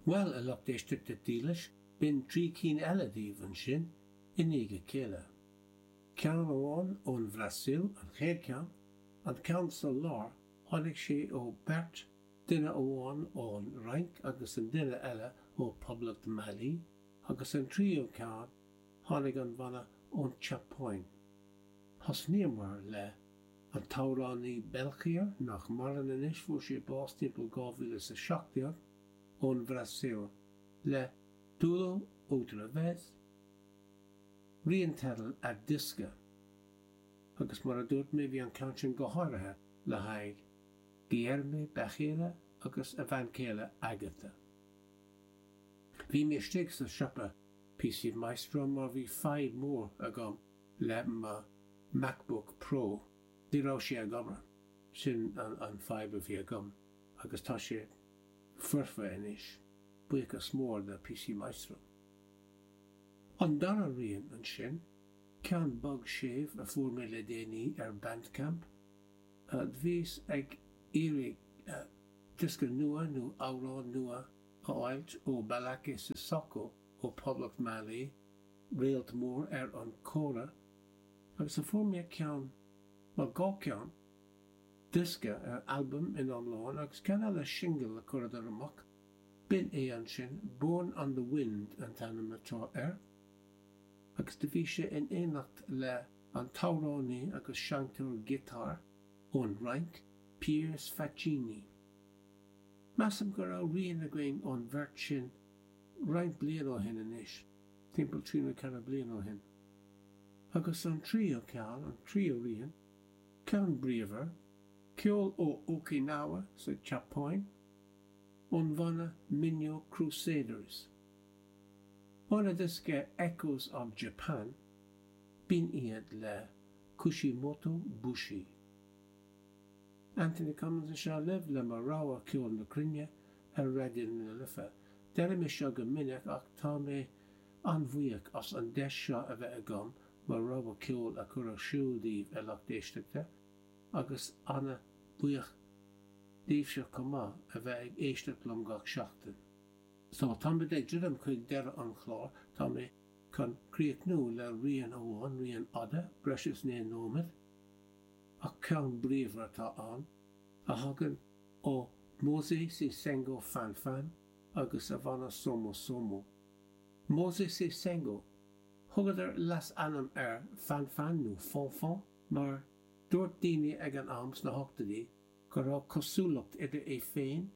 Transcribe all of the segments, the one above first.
Bhuel, a lucht éisteachta dílis, b'in 3 cinn eile daoibh ansin, i ndiaidh a chéile. Ceann amháin ón Bhrasaíl, an chéad cheann, an ceann sa lár, tháinig sé ó beirt, duine amháin ón Fhrainc agus an duine eile ó Poblacht Mhailí, agus an tríú ceann, tháinig an bhanna ón tSeapáin. Thosnaíomar le an t-amhránaí Belchior, nach maireann anois, fuair sé bás timpeall 2017, ón Bhrasaíl, le Tudo Outra Vez, rian teidil a diosca. Agus mar a dúirt mé, bhí an ceann sin go háirithe le haghaidh Guilherme Becheira agus a bhean chéile Agatha. Bhí mé istigh sa siopa PC Maestro mar bhí fadhb mór agam le mo MacBook Pro. Ní raibh sé ag obair. Sin an fadhb a bhí agam agus tá sé foirfe anois. Buíochas mór do PC Maestro. An dara rian ansin, ceann bog séimh a fuair mé le déanaí ar Bandcamp. Bhíos ag iarraidh diosca nua nó amhrán nua a fháilt ó Ballaké Sissoko ó Poblacht Mhailí, réalt mór ar an kora, agus a fuair mé ceann, bhuel dhá cheann, diosca, albam in iomlán agus ceann eile singil a chuireadar amach, b'in é ansin, Born on the Wind an t-ainm atá air, agus do bhí sé in éineacht le an t-amhránaí agus seinnteoir giotáir ón Fhrainc, Piers Faccini. Measaim go raibh rian againn ón bheirt sin roinnt bliain ó shin anois, timpeall trí nó ceithre bliana ó shin. Agus an tríú ceann, an tríú rian, ceann bríomhar, ceol ó Okinawa sa tSeapáin, ón bhanna Minyo Crusaders. Óna diosca Echoes of Japan, b'in iad le Kushimoto Bushi. Anthony Cummins anseo libh le mo rogha ceol na cruinne ar Raidió na Life. Deirim é seo go minic ach tá mé an-bhuíoch as an deis seo a bheith agam mo rogha ceoil a chur ar siúl daoibh a lucht éisteachta agus an-bhuíoch daoibhse chomh maith a bheith ag éisteacht liom gach seachtain. So, táimid ag druidim chuig deireadh an chláir, tá mé chun críochnú le rian amháin, rian fhada, breis is 9 nóiméad, ach ceann bríomhar atá ann, a thagann ó Mosé Sisengo Fanfan agus a bhanna Somo Somo. Mosé Sisengo, thugadar leasainm air Fanfan nó Fonfon mar dúirt daoine ag an am sna hochtóidí go raibh cosúlacht idir é féin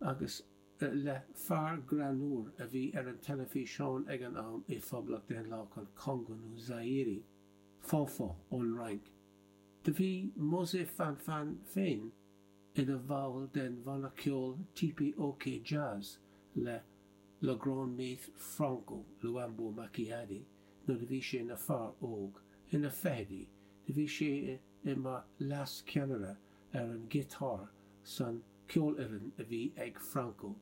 agus le fear greannmhar a bhí ar an teilifíseán ag an am i Phoblacht Daonlathach an Chongo nó Zaire, Fanfan ón Fhrainc. Do bhí Mosé Fanfan féin ina bhall den bhanna ceoil TP-OK Jazz le Le Grand Maître Franco Luambo Makiadi nuair a bhí sé ina fear óg, ina fichidí. Do bhí sé i mar leas-cheannaire ar an ghiotár san ceolfhoireann a bhí ag Franco.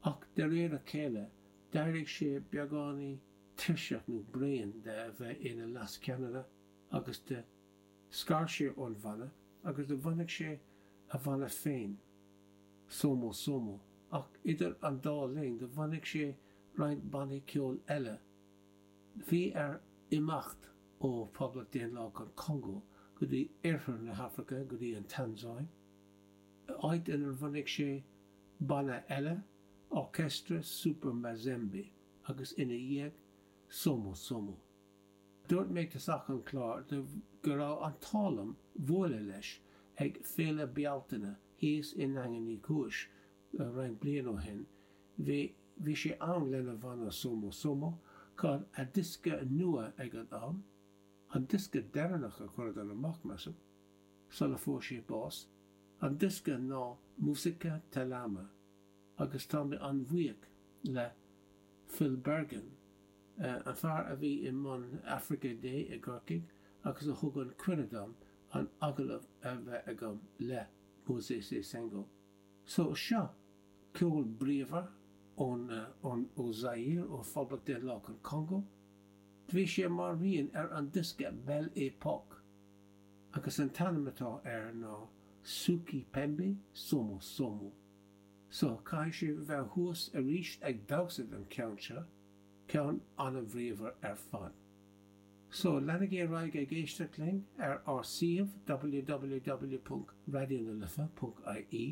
Ach de réir a chéile, d'éirigh sé beagáinín tuirseach nó bréan de a bheith ina leas-cheannaire agus do scar sé ón bhanna agus do bhunaigh sé a bhanna féin, Somo Somo, ach idir an dá linn do bhunaigh sé roinnt bannaí ceoil eile. Bhí air imeacht ó Phoblacht Daonlathach an Chongó go dtí oirthear na hAfraice, go dtí an Tansáin, áit inar bhunaigh sé banna eile, Orchestre Super Mazembe, agus ina dhiaidh, Somo Somo. Dúirt mé ag tosach an chláir go raibh an t-ádh liom bualadh leis ag Féile Bealtaine thíos i nDaingean Uí Chúis roinnt bliain ó shin. Bhí bhí sé ann lena bhanna Somo Somo chun a diosca nua ag an am, an diosca deireanach a chuireadar amach, measaim, sula fuair sé bás. An diosca ná Musica Talama agus tá mé an-bhuíoch le Phil Bergin, an fear a bhí i mbun Africa Day i gCorcaigh agus a thug an cuireadh dom an agallamh a bheith agam le Mosé Sisengo. So seo ceol bríomhar ón ó Zaire, ó Phoblacht Daonlathach an Chongó. Bhí sé mar rian ar an diosca Belle Époque agus an t-ainm atá air ná Suki Pembe Somo Somo. So, caithfidh sibh a bheith thuas arís ag damhsa don cheann seo, ceann an-bhríomhar ar fad. So, leanaigí ar aghaidh ag éisteacht linn ar ár suíomh www.raidionalife.ie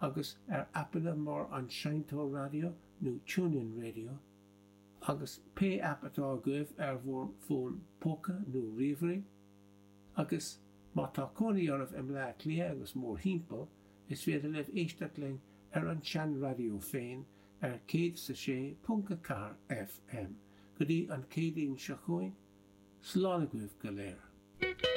agus ar aipeanna mar an Seinnteoir Raidió nó TuneIn Radio agus pé aip atá agaibh ar bhur bhfón póca nó ríomhairí. Agus má tá cónaí oraibh i mBleá Cliath agus mórthimpeall, is féidir libh éisteacht linn ar an sean-raidió féin ar 106.4 FM. Go dtí an Chéadaoin seo chugainn, slán agaibh go léir.